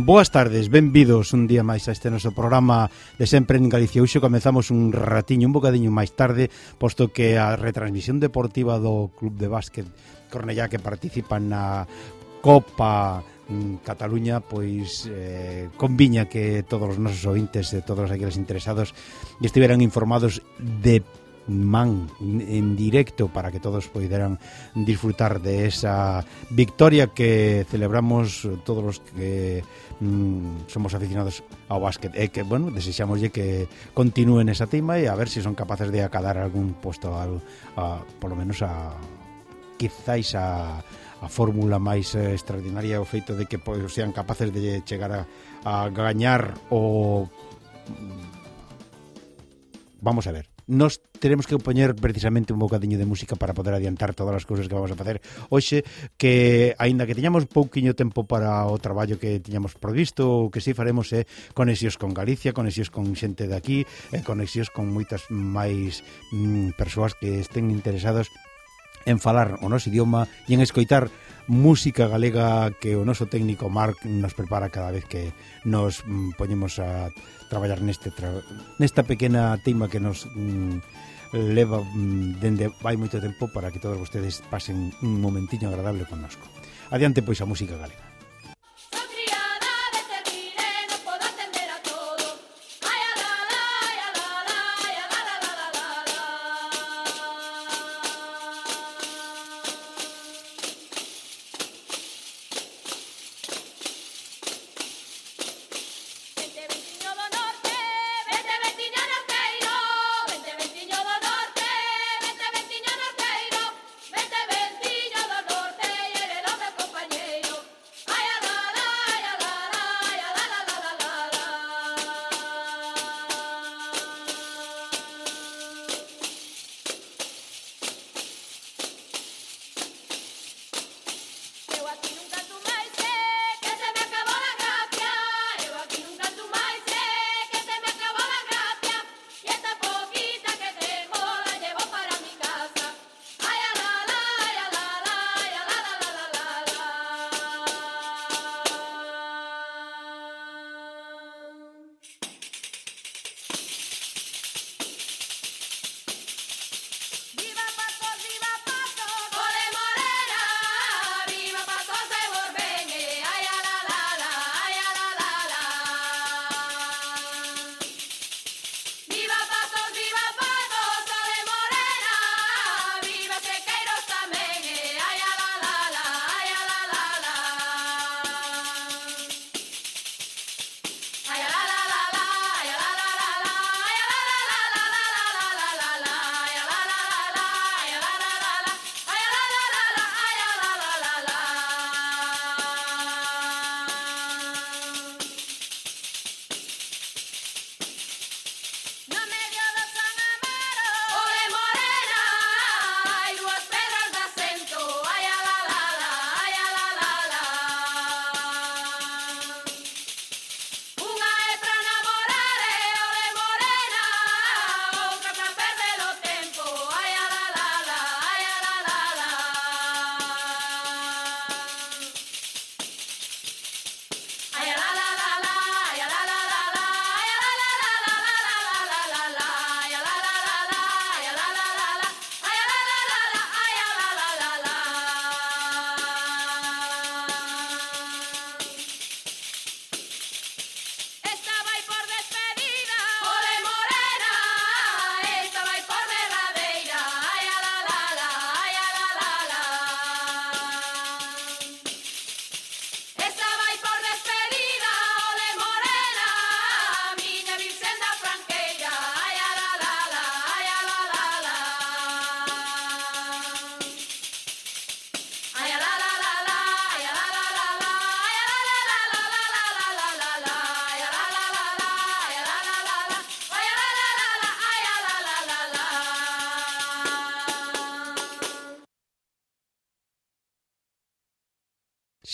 Boas tardes, benvidos un día máis a este noso programa de Sempre en Galicia. Hoxe comezamos un ratiño, un bocadiño máis tarde, posto que a retransmisión deportiva do Club de Básquet Cornellá, que participa na Copa Cataluña, pois conviña que todos os nosos ointes e todos aqueles interesados estiveran informados de man en directo para que todos poideran disfrutar de esa victoria que celebramos todos os que somos aficionados ao básquet, e que, bueno, desexámoslle que continúen esa tima e a ver se son capaces de acadar algún posto polo menos quizáis a fórmula máis extraordinaria, o feito de que sean capaces de chegar a gañar o... Vamos a ver, nos teremos que poñer precisamente un bocadiño de música para poder adiantar todas as cousas que vamos a facer hoxe, que aínda que teñamos pouquiño tempo para o traballo que tiñamos previsto, o que si faremos é conexións con Galicia, conexións con xente de aquí, conexións con moitas máis persoas que estén interesados en falar o noso idioma e en escoitar música galega que o noso técnico Marc nos prepara cada vez que nos poñemos a traballar nesta pequena teima que nos leva dende vai moito tempo para que todos vostedes pasen un momentiño agradable connosco. Adiante pois a música galega.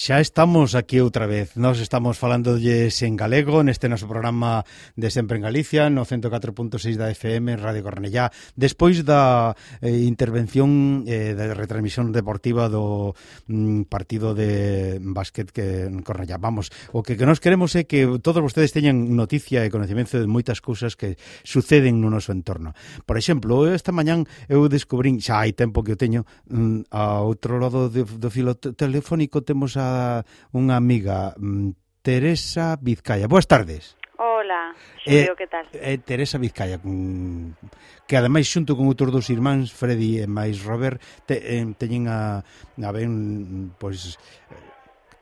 Xa estamos aquí outra vez. Nós estamos falándolles en galego neste noso programa de Sempre en Galicia, no 104.6 da FM, Radio Cornellá, despois da intervención da retransmisión deportiva do partido de básquet que en Cornellá. Vamos, o que nos queremos é que todos vostedes teñan noticia e conocemento de moitas cousas que suceden no noso entorno. Por exemplo, esta mañán eu descubrín, xa hai tempo que o teño, a outro lado do filo telefónico temos a unha amiga, Teresa Vizcaya. Boas tardes. Hola, Xulio, que tal? Teresa Vizcaya, que ademais xunto con outros dos irmáns, Freddy e máis Robert, teñen a ben, pois,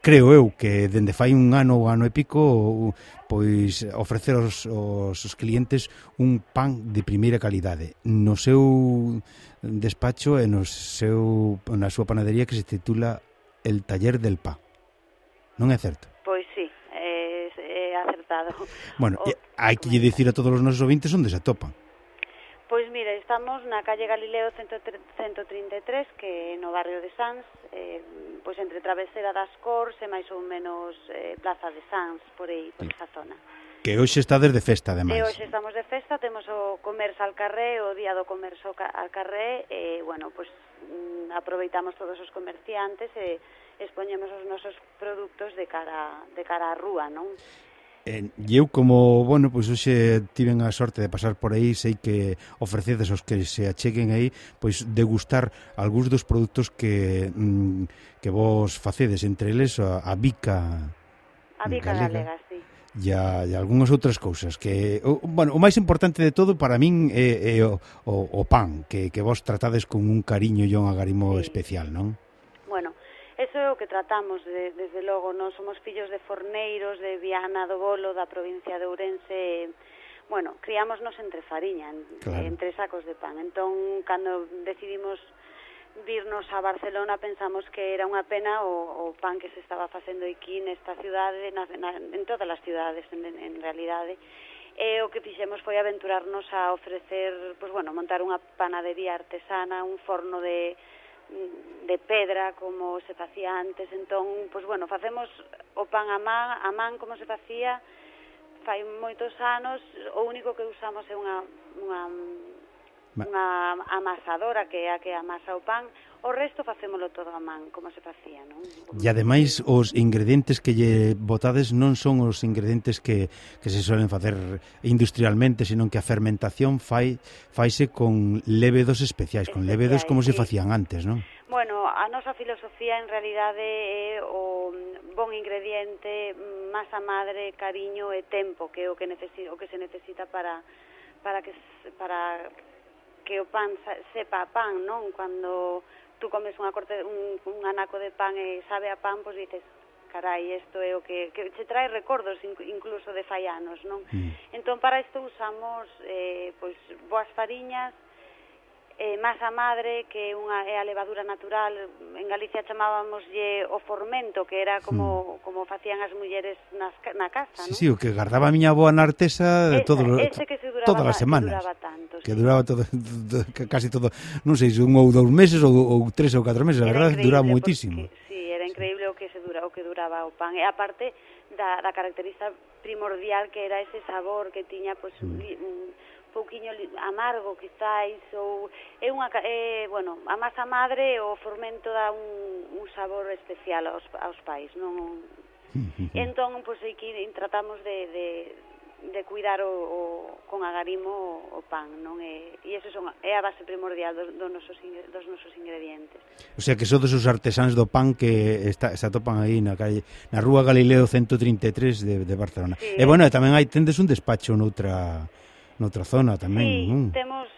creo eu que dende fai un ano ou ano e pico, pois ofrecer aos clientes un pan de primeira calidade no seu despacho e na súa panadería que se titula El Taller del Pan. Non é certo? Pois sí, é acertado. Bueno, hai que lle dicir a todos os nosos ouvintes onde se atopan. Pois mira, estamos na calle Galileo 133, que é no barrio de Sants, pois entre Travesera das Cors e máis ou menos Plaza de Sants, por aí, por esa zona. Que hoxe está desde festa, ademais. E hoxe estamos de festa, temos o comercio al carré, o día do comercio al carré, e, bueno, pois aproveitamos todos os comerciantes e expoñemos os nosos produtos de cara á rúa, non? E eu como, bueno, pois hoxe tiven a sorte de pasar por aí, sei que ofrecedes aos que se acheguen aí, pois degustar algúns dos produtos que vos facedes, entre eles a bica galega, sí. E algunhas outras cousas que, bueno, o máis importante de todo para min é o pan, que vos tratades con un cariño e un agarimo especial, non? Bueno, eso é o que tratamos, desde logo, non somos fillos de forneiros de Viana do Bolo, da provincia de Ourense. Bueno, criámonos entre fariña, claro, entre sacos de pan. Entón, cando decidimos virnos a Barcelona, pensamos que era unha pena o pan que se estaba facendo aquí nesta cidade, en todas as cidades, en realidade. E o que fixemos foi aventurarnos a ofrecer, pois bueno, montar unha panadería artesana, un forno de pedra como se facía antes. Entón, pois bueno, facemos o pan a man como se facía fai moitos anos. O único que usamos é unha amasadora que é a que amasa o pan. O resto facémolo todo a man, como se facía, non? E ademais os ingredientes que lle botades non son os ingredientes que se suelen facer industrialmente, senón que a fermentación faise con lévedos especiais, con lévedos como se facían antes, non? Bueno, a nosa filosofía en realidade é o bon ingrediente, masa madre, cariño e tempo, que é o que se necesita para que o pan sepa a pan, non? Cando tú comes un anaco de pan e sabe a pan, pois dices, carai, isto é o que che trae recordos incluso de fai anos, non? Entón, para isto usamos pois boas fariñas, masa madre, que é a levadura natural. En Galicia chamábamoslle o formento, que era como facían as mulleres na casa, non? Sí, o que guardaba a miña avoa na artesa todas as semanas. Que duraba todo, casi todo, non sei, un ou 2 meses ou 3 ou 4 meses, a verdade, duraba moitísimo. Sí, era increíble o que duraba o pan. E aparte da característica primordial que era ese sabor que tiña, pois, un pouquiño amargo, quizáis, ou bueno, a masa madre, o fermento dá un sabor especial aos pais, non? Entón, pois, aquí tratamos de cuidar con agarimo o pan, non? E iso é a base primordial dos nosos ingredientes. O sea que sodes os artesáns do pan que se atopan aí na Rúa Galileo 133 de Barcelona. Sí, e bueno, tamén tendes un despacho noutra zona tamén. Sí, temos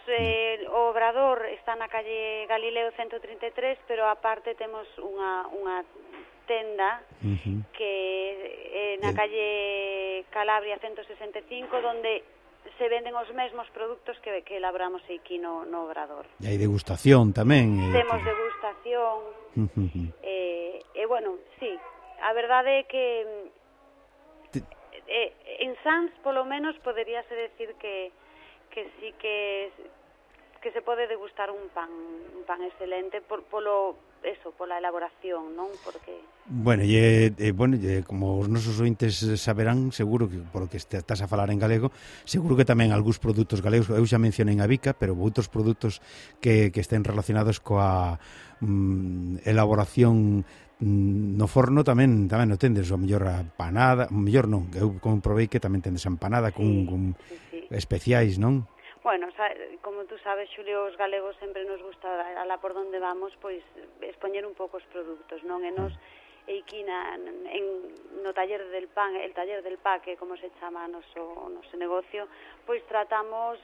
o obrador está na calle Galileo 133, pero aparte temos unha tenda que é na calle Calabria 165, donde se venden os mesmos produtos que elaboramos aquí no obrador. E hai degustación tamén. Temos degustación. E bueno, sí, a verdade é que en Sants, polo menos, poderíase decir que sí que que se pode degustar un pan excelente pola elaboración, non? Porque Bueno, como os nosos ointes saberán, seguro que polo que estás a falar en galego, seguro que tamén algúns produtos galegos, eu xa mencionei a bica, pero outros produtos que estén relacionados coa elaboración no forno tamén no tendes, o mellor a panada, o mellor non, eu comprobei que tamén tendes a empanada con especiais, non? Bueno, como tú sabes, Xulio, os galegos sempre nos gusta, alá por donde vamos, pois expoñer un pouco os produtos, non? E nos, aquí no taller del pan, el taller del paque, como se chama noso negocio, pois tratamos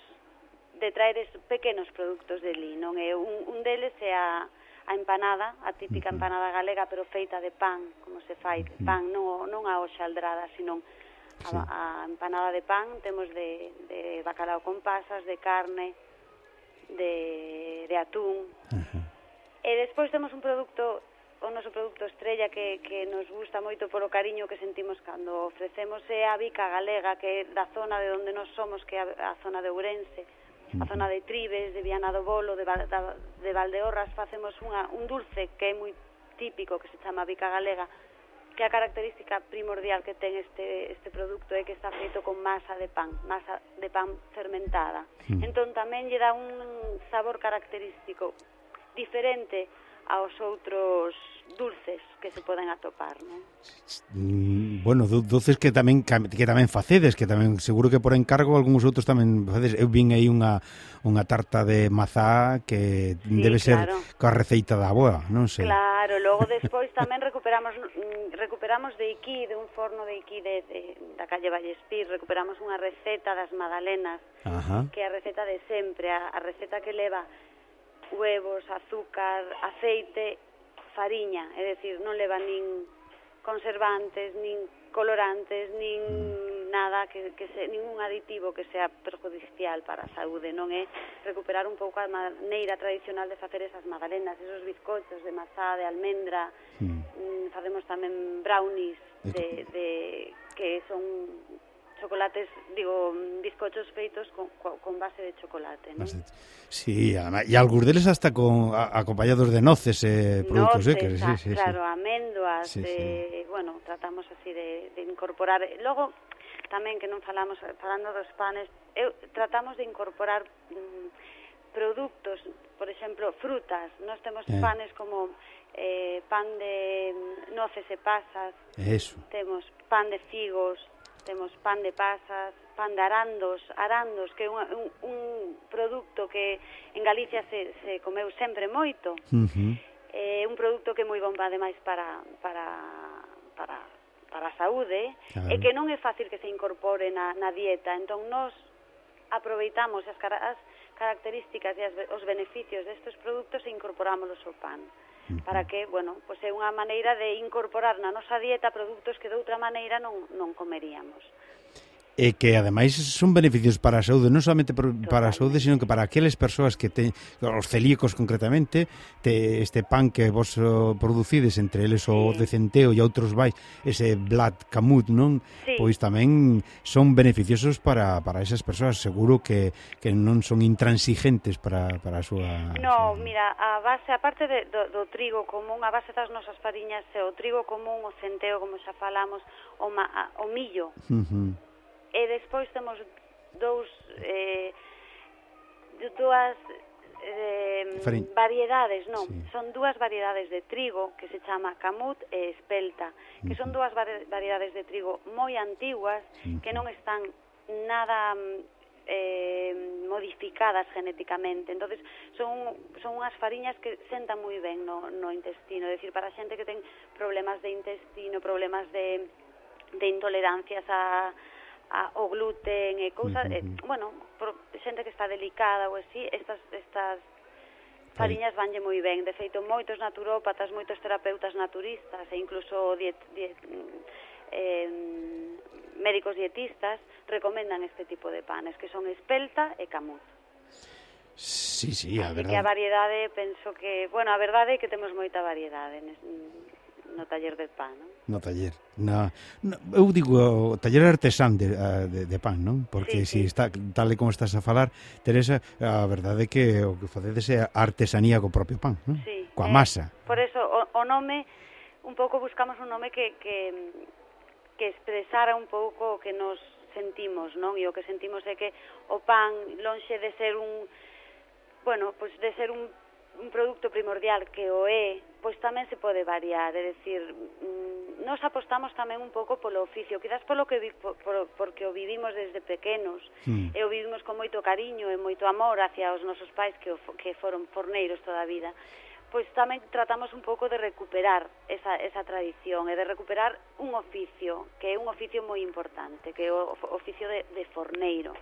de traer pequenos produtos de li, non? E un deles é a empanada, a típica empanada galega, pero feita de pan, como se fai, pan, non a hoxaldrada, sino a empanada de pan. Temos de bacalao con pasas, de carne, de atún. E despois temos un produto, o noso produto estrella que nos gusta moito polo cariño que sentimos cando ofrecemos, é a bica galega, que é da zona de onde nós somos, que é a zona de Ourense, a zona de Tribes, de Viana do Bolo, de Valdeorras. Facemos un dulce que é moi típico, que se chama bica galega, que a característica primordial que ten este produto é que está feito con masa de pan fermentada. Entón tamén lle dá un sabor característico diferente aos outros dulces que se poden atopar, non? Bueno, dulces que tamén facedes, que tamén seguro que por encargo algúns outros tamén facedes. Eu vin aí unha tarta de mazá que debe ser coa receita da avoa, non sei. Claro, logo despois tamén recuperamos de aquí, de un forno de aquí da calle Vallespir, recuperamos unha receta das magdalenas, que é a receta de sempre, a receta que leva huevos, azúcar, aceite, fariña, é dicir, non leva nin conservantes, nin colorantes, nin nada ningún aditivo que sea perjudicial para a saúde, non é recuperar un pouco a maneira tradicional de facer esas magdalenas, esos bizcochos de mazá, de almendra. Facemos tamén brownies que son chocolates, bizcochos feitos con base de chocolate, ¿no? Sí, e algúns deles hasta acompañados de noces produtos secos. Claro, améndoas, bueno, tratamos así de incorporar. Logo, tamén que non falando dos panes, tratamos de incorporar produtos, por exemplo, frutas. Nós temos panes como pan de noces e pasas, temos pan de figos, temos pan de pasas, pan de arandos, que é un produto que en Galicia se comeu sempre moito. É un produto que é moi bomba, ademais, para a saúde, e que non é fácil que se incorpore na dieta. Entón, nós aproveitamos as características e os beneficios destes produtos e incorporámolos ao pan. Para que, bueno, pois é unha maneira de incorporar na nosa dieta produtos que de outra maneira non comeríamos. E que, ademais, son beneficios para a saúde, non solamente para a saúde, sino que para aqueles persoas que os celíacos concretamente, este pan que vos producides, entre eles o de centeo e outros vais, ese blat camut, non? Pois tamén son beneficiosos para esas persoas, seguro que non son intransigentes para a súa... No, mira, a base, aparte do trigo común, a base das nosas fariñas é o trigo común, o centeo, como xa falamos, o millo. E despois temos dúas variedades, non? Son dúas variedades de trigo que se chama camut e espelta, que son dúas variedades de trigo moi antiguas, que non están nada modificadas genéticamente. Entonces son unhas fariñas que sentan moi ben no intestino, é dicir, para a xente que ten problemas de intestino, problemas de intolerancias o gluten e cousas, bueno, xente que está delicada ou así, estas fariñas vanlle moi ben. De feito, moitos naturópatas, moitos terapeutas naturistas e incluso médicos dietistas recomendan este tipo de panes, que son espelta e camut. Sí, a verdade. Así que a variedade, penso que, bueno, a verdade é que temos moita variedade no taller de pan, non? No taller. Eu digo, o taller artesán de pan, non? Porque sí. está tal e como estás a falar, Teresa, a verdade é que o que facedes é artesanía co propio pan, non? Sí, Coa masa. Por eso, o nome, un pouco buscamos un nome que expresara un pouco o que nos sentimos, non? E o que sentimos é que o pan, lonxe de ser de ser un produto primordial que o é, pois tamén se pode variar, é dicir, nos apostamos tamén un pouco polo oficio, quizás porque o vivimos desde pequenos, e o vivimos con moito cariño e moito amor hacia os nosos pais que foron forneiros toda a vida, pois tamén tratamos un pouco de recuperar esa tradición e de recuperar un oficio, que é un oficio moi importante, que é o oficio de forneiro.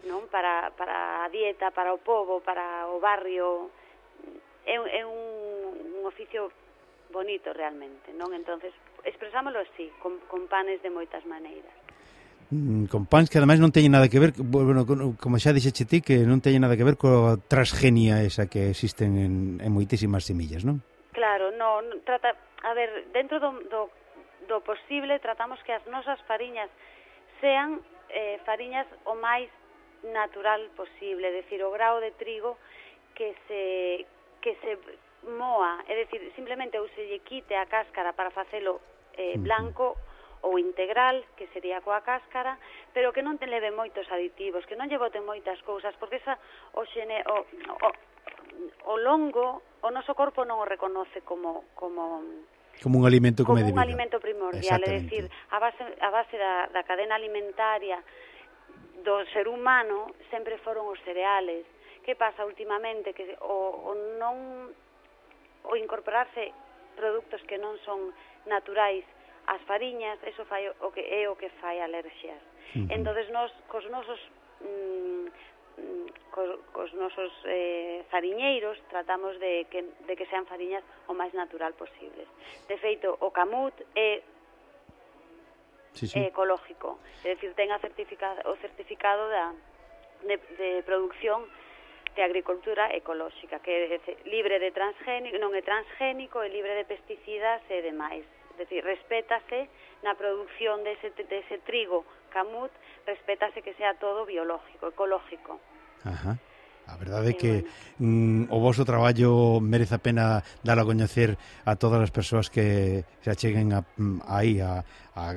Non? Para a dieta, para o pobo, para o barrio, é un oficio bonito realmente, non? Entonces, expresámoslo así, con panes de moitas maneiras. Con pans que ademais non teñen nada que ver, bueno, como xa dixeche ti, que non teñen nada que ver coa transgenia esa que existen en moitísimas semillas, non? Claro, dentro do posible tratamos que as nosas fariñas sean fariñas o máis natural posible, é dicir, o grao de trigo que se moa, é dicir, simplemente ou se lle quite a cáscara para facelo blanco ou integral, que sería coa cáscara, pero que non te leve moitos aditivos, que non lle boten moitas cousas, porque o longo, o noso corpo non o reconoce como un alimento como un alimento primordial, é dicir, a base da cadena alimentaria do ser humano sempre foron os cereales. Que pasa últimamente? Que o incorporarse produtos que non son naturais ás fariñas, eso fai o que fai alerxias. Entonces nós cos nosos fariñeiros tratamos de que sean fariñas o máis natural posibles. De feito, o camut é ecológico, é dicir, ten o certificado de producción de agricultura ecolóxica, que é libre de transgénico, non é transgénico, é libre de pesticidas e demais. É dicir, respétase na produción dese trigo camut, respétase que sea todo biológico, ecológico. Ajá. A verdade é que o vosso traballo merece a pena dar a coñecer a todas as persoas que se acheguen aí a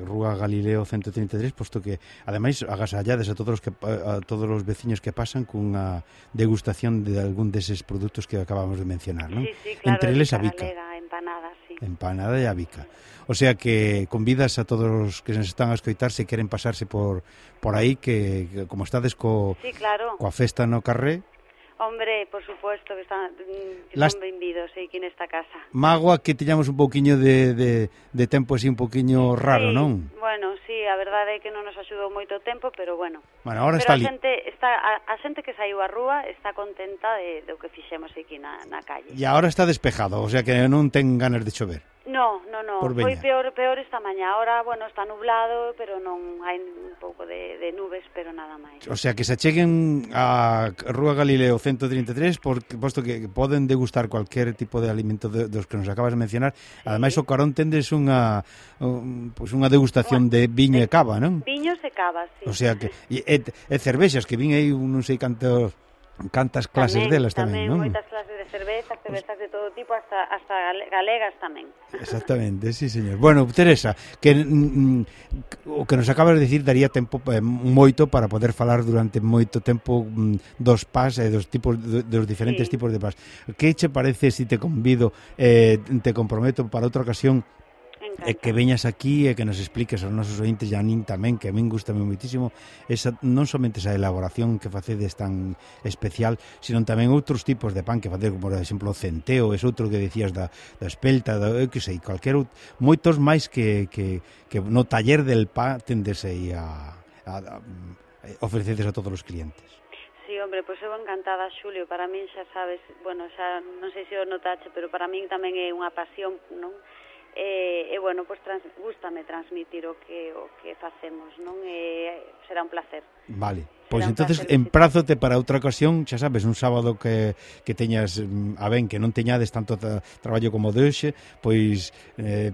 Rúa Galileo 133, posto que ademais agasallades a todos os veciños que pasan cunha degustación de algún deses produtos que acabamos de mencionar, non? Sí, claro, entre eles a bica. Empanada, sí. Empanada e a bica. O sea que convidas a todos os que nos están a escoitar, se queren pasarse por aí, que como estades coa festa no carré. Hombre, por supuesto que son benvidos aquí nesta casa. Mágoa que teñamos un pouquiño de tempo así un pouquiño raro, non? Bueno, sí, a verdade é que non nos axudou moito tempo, pero bueno. Bueno, ahora pero a xente que saiu á rúa está contenta do que fixemos aquí na calle. E agora está despejado, o sea que non ten ganas de chover. No, foi peor esta mañá. Ahora, bueno, está nublado, pero non hai un pouco de nubes, pero nada máis. O sea, que se acheguen a Rúa Galileo 133, posto que poden degustar cualquier tipo de alimento dos que nos acabas de mencionar. Ademais, o carón tendes unha degustación de viño e cava, non? Viños e cava, sí. O sea, que e cervexas, que vin aí non sei cantas clases delas tamén, non? Moitas clases de cervezas de todo tipo, hasta galegas tamén. Exactamente, sí, señor. Bueno, Teresa, que o que nos acabas de dicir daría tempo moito para poder falar durante moito tempo dos pas e dos diferentes tipos de pas. Que che parece se te convido, te comprometo para outra ocasión que veñas aquí e que nos expliques aos nosos ointes, e a min tamén, que a min gustame moitísimo non somente esa elaboración que facedes tan especial, sino tamén outros tipos de pan que facedes, como por exemplo o centeo, ese outro que decías da espelta, que sei, moitos máis que no taller del pan tendes aí a ofrecedes a todos os clientes. Sí, hombre, pois eu encantada, Xulio, para min xa sabes, bueno, xa non sei se o notache, pero para min tamén é unha pasión, non? E bueno, pois gústame transmitir o que facemos, non? Será un placer. Vale. Pois entonces emprázote para outra ocasión, xa sabes, un sábado que teñas a ben que non teñades tanto traballo como de hoxe, pois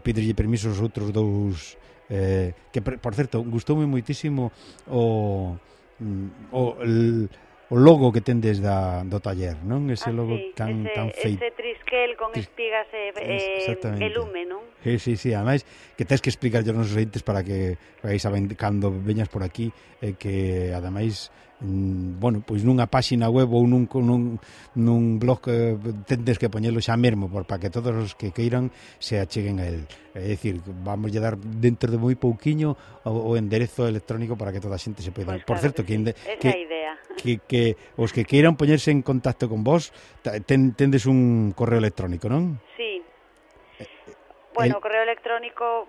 pídelle permiso aos outros dous que por certo, gustoume moitísimo o logo que tendes do taller, non? Ese logo tan feito. Ese trisquel con espigas e lume, non? Sí, ademais que tens que explicar aos nosos ointes para que saben cando veñas por aquí que ademais bueno, pois nunha páxina web ou nun blog tendes que poñelo xa mesmo para que todos os que queiran se acheguen a él. É dicir, vamos a dar dentro de moi pouquiño o enderezo electrónico para que toda a xente se poida. Pues por certo, esa idea. Que os que queiran poñerse en contacto con vos tendes un correo electrónico, non? Sí. Bueno, o correo electrónico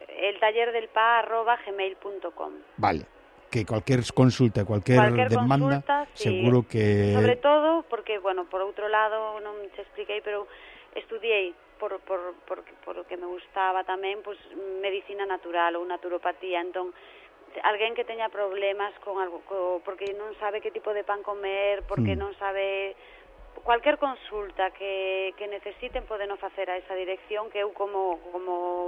eltallerdelpa@gmail.com. Vale. Que cualquier consulta, cualquier demanda, sí, seguro que... Sobre todo, porque, bueno, por outro lado, non te expliquei, pero estudiei por o que me gustaba tamén, pues, medicina natural ou naturopatía, entón, alguén que teña problemas con algo, porque non sabe que tipo de pan comer, porque non sabe... Cualquier consulta que necesiten poden facer a esa dirección, que eu como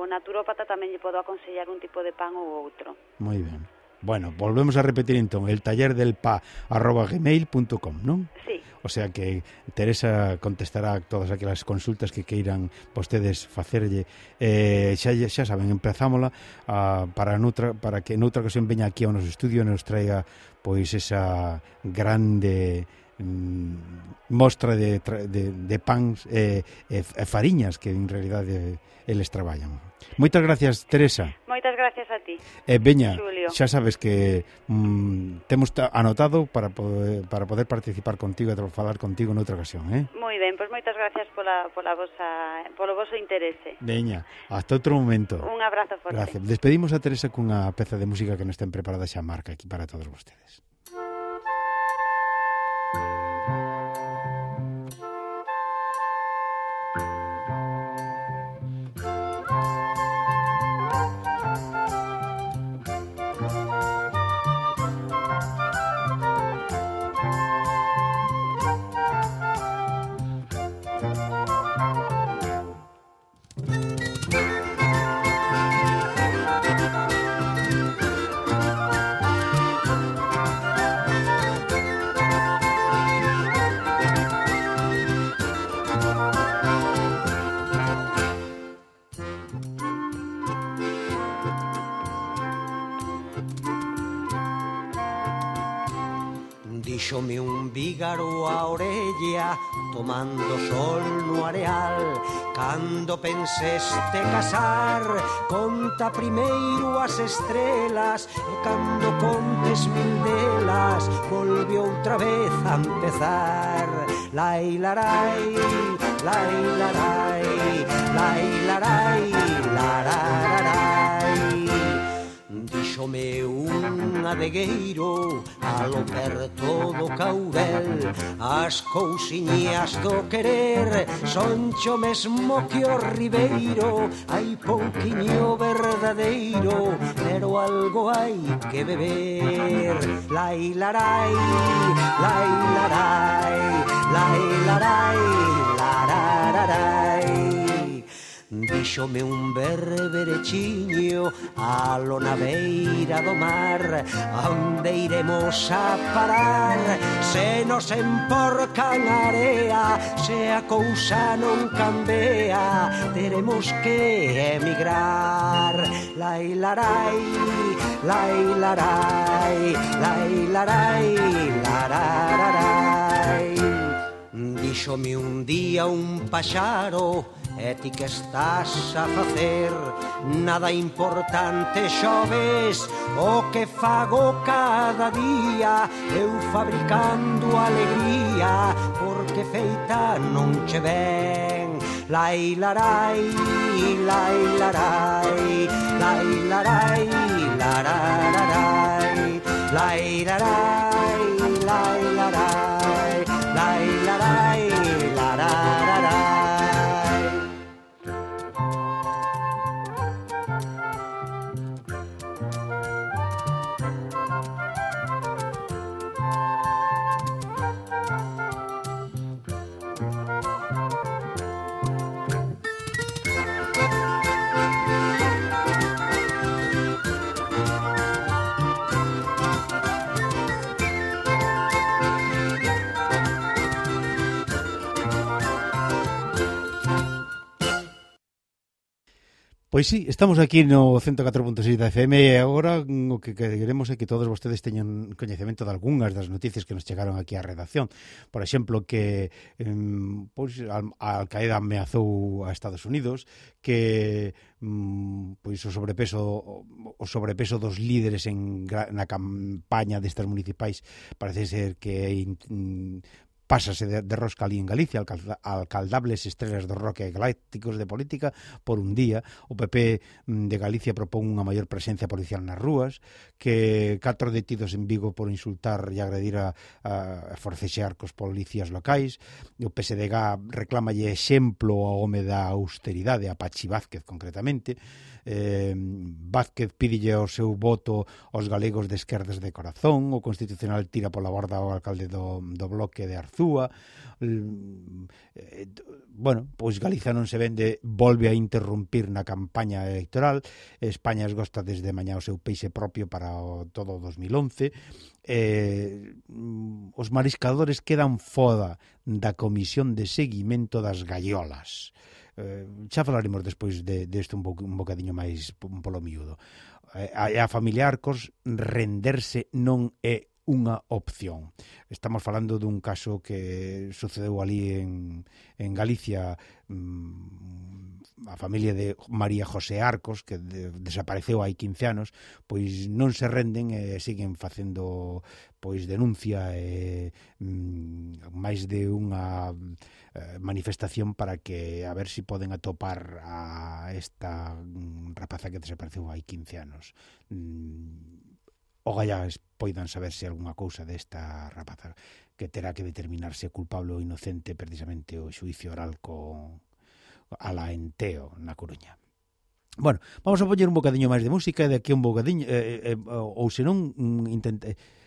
naturópata tamén lle podo aconsellar un tipo de pan ou outro. Moi ben. Bueno, volvemos a repetir entón, eltallerdelpa@gmail.com, non? Sí. O sea que Teresa contestará todas aquelas consultas que queiran vostedes facerlle. Xa saben, empezámola para que noutra ocasión veña aquí ao noso estudio e nos traiga pois esa grande mostra de pans e fariñas que en realidade eles traballan. Moitas gracias, Teresa. Moitas gracias a ti. Veña, Xulio. xa sabes que temos anotado para poder participar contigo e falar contigo noutra ocasión, Moi ben, pois moitas gracias polo voso interese. Veña, hasta outro momento. Un abrazo forte. Gracias. Despedimos a Teresa cunha peza de música que nos ten preparada xa marca aquí para todos vostedes. Díxome un vígaro a orella tomando sol no areal. Cando penseste casar, conta primeiro as estrelas, e cando contes mil delas, volve outra vez a empezar. Lai larai, lai larai, lai larai, larararai. Díxome un adegueiro alo perto do Caurel, as cousiñas do querer son cho mesmo que o ribeiro. Hai pouquiño verdadeiro, pero algo hai que beber. Lai larai, lai larai, lai larai, larararai. Díxome un berberechiño alo na beira do mar, onde iremos a parar se nos emporcan a area. Se a cousa non cambia, teremos que emigrar. Lai larai, lai larai, lai larai, larararai. Díxome un día un paxaro: e ti que estás a facer? Nada importante, xoves, o que fago cada día, eu fabricando alegría, porque feita non che ven. Lai larai, lai larai, lai larai, larararai, lai larai, lai larai, lai larai, larararai. Pois sí, estamos aquí no 104.6 da FM e agora o que queremos é que todos vostedes teñan coñecemento de algunhas das noticias que nos chegaron aquí á redacción. Por exemplo, que pois, a Al-Qaeda ameazou a Estados Unidos, que pois o sobrepeso dos líderes na campaña destas municipais parece ser que pásase de rosca ali en Galicia, alcaldables estrelas do rock e galácticos de política por un día. O PP de Galicia propón unha maior presencia policial nas rúas, que 4 detidos en Vigo por insultar e agredir a forcexear cos policías locais. O PSDG reclamalle exemplo ao home da austeridade, a Pachi Vázquez concretamente. Vázquez pídelle o seu voto aos galegos de esquerdas de corazón. O Constitucional tira pola borda o alcalde do Bloque de Arzúa. Bueno, pois Galiza non se vende, volve a interrumpir na campaña electoral. España esgosta desde mañá o seu peixe propio para todo o 2011. Os mariscadores quedan fora da comisión de seguimento das gaiolas. Xa falaremos despois deste un bocadiño máis polo miúdo. A familia Arcos, renderse non é unha opción. Estamos falando dun caso que sucedeu ali en Galicia, a familia de María José Arcos, que desapareceu hai 15 anos, pois non se renden e siguen facendo pois denuncia e máis de unha manifestación para que a ver se poden atopar a esta rapaza que desapareceu hai 15 anos. Ogallá poidan saber se algunha cousa desta rapaza, que terá que determinarse culpable ou inocente precisamente o xuicio oral a la Enteo na Coruña. Bueno, vamos a poñer un bocadiño máis de música e de aquí un bocadiño ou senón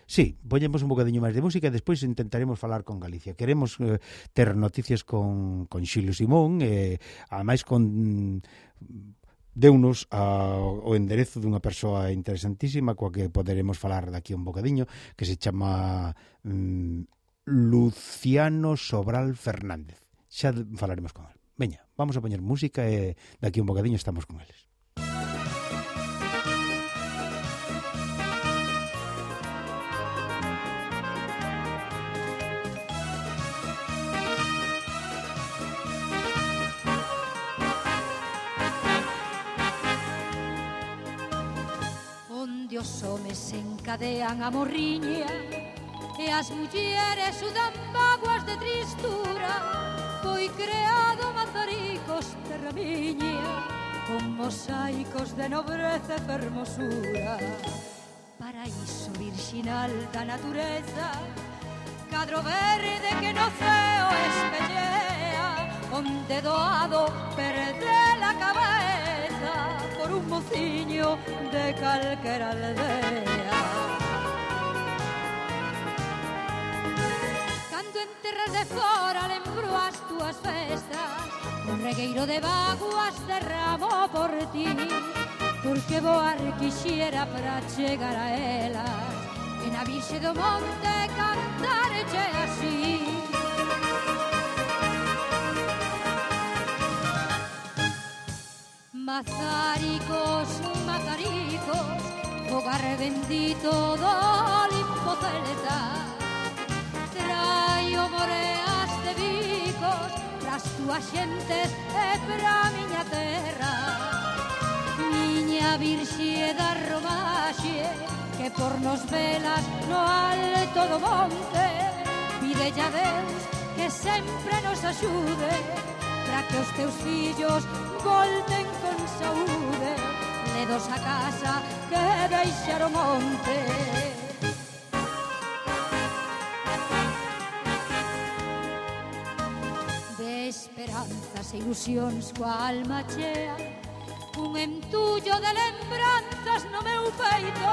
sí, poñemos un bocadiño máis de música e despois intentaremos falar con Galicia. Queremos ter noticias con Xilio Simón e ademais deunos o enderezo dunha persoa interesantísima coa que poderemos falar daqui un bocadiño, que se chama Luciano Sobral Fernández. Xa falaremos con él. Veña, vamos a poñer música e daqui un bocadiño estamos con eles. Onde os homes se encadean a morriña e as mulleres sudan vaguas de tristura, foi creado Mazaricos, terra miña, con mosaicos de nobreza e fermosura. Paraíso virxinal da natureza, cadro verde que no ceo espellea, onde doado perde la cabeza por un mociño de calquera aldea. Cando en terras de fora lembro as túas festas, un regueiro de vaguas derramo por ti, porque voar quixera para chegar a elas, e na Virxe do Monte cantarche así. Mazaricos, Mazaricos, fogar bendito do Olimpo celta, traio moreas de bicos pras túas xentes e pra miña terra. Miña Virxe da Romaxe, que por nos velas no alto do monte, pide a Deus que sempre nos axude, para que os teus fillos volten con saúde, ledos a casa que deixaron monte. De esperanzas e ilusións coa alma chea, un entullo de lembranzas no meu peito,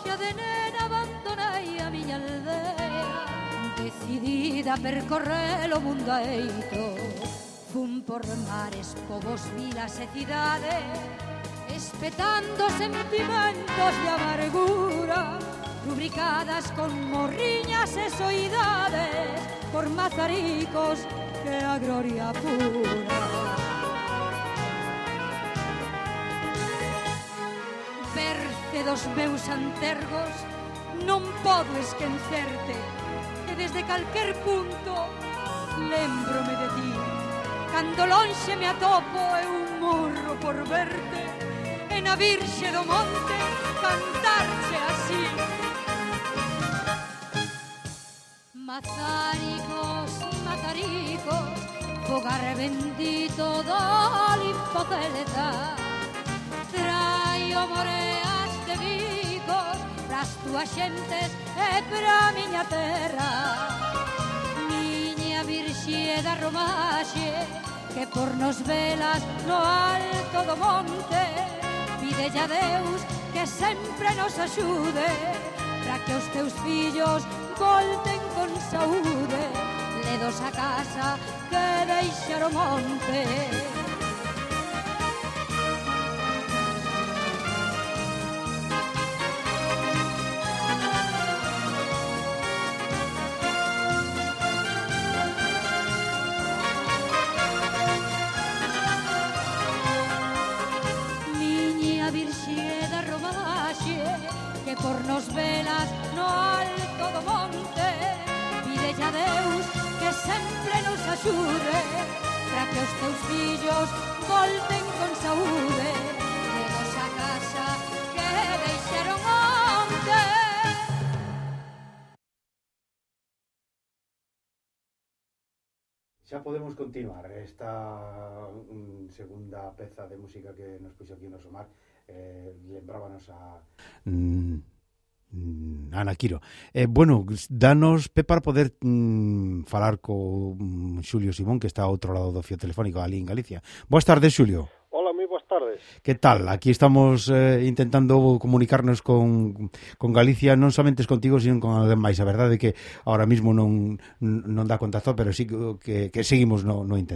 xa de nena abandonei a miña aldea, decidida a percorrer o mundo aeito. Fun por mares, povos, vilas e cidades, espetando sentimentos de amargura, rubricadas con morriñas e soidades, por Mazaricos que a gloria pura. dos meus antergos non podo esquecerte, e desde calquer punto lembrome de ti. Cando lonxe me atopo e un morro por verte, e na Virxe do Monte cantarche así. Mazaricos, mazaricos, fogar bendito do limpo celta, traio moreas de vigos pras túas xentes e pra miña terra. Miña Virxe da Romaxe, que por nos velas no alto do monte, pidelle a Deus que sempre nos axude, para que os teus fillos volten con saúde, ledos a casa que deixar o monte. Miña Virxe da Romaxe, que por nos velas no alto do monte, pidelle a Deus que sempre nos axude, para que os teus fillos volten con saúde, ledos a casa que deixaron onte. Xa podemos continuar esta segunda peza de música que nos puxo aquí no Somar. Lembrábanos a Ana Quiro. Bueno, danos pé para poder falar co Xulio Simón, que está ao outro lado do fío telefónico ali en Galicia. Boas tardes, Xulio. Hola, moi boas tardes. Que tal? Aquí estamos intentando comunicarnos con Galicia, non somente contigo, sino con alguén máis. A verdade é que ahora mismo non dá contacto, pero sí que seguimos no intento.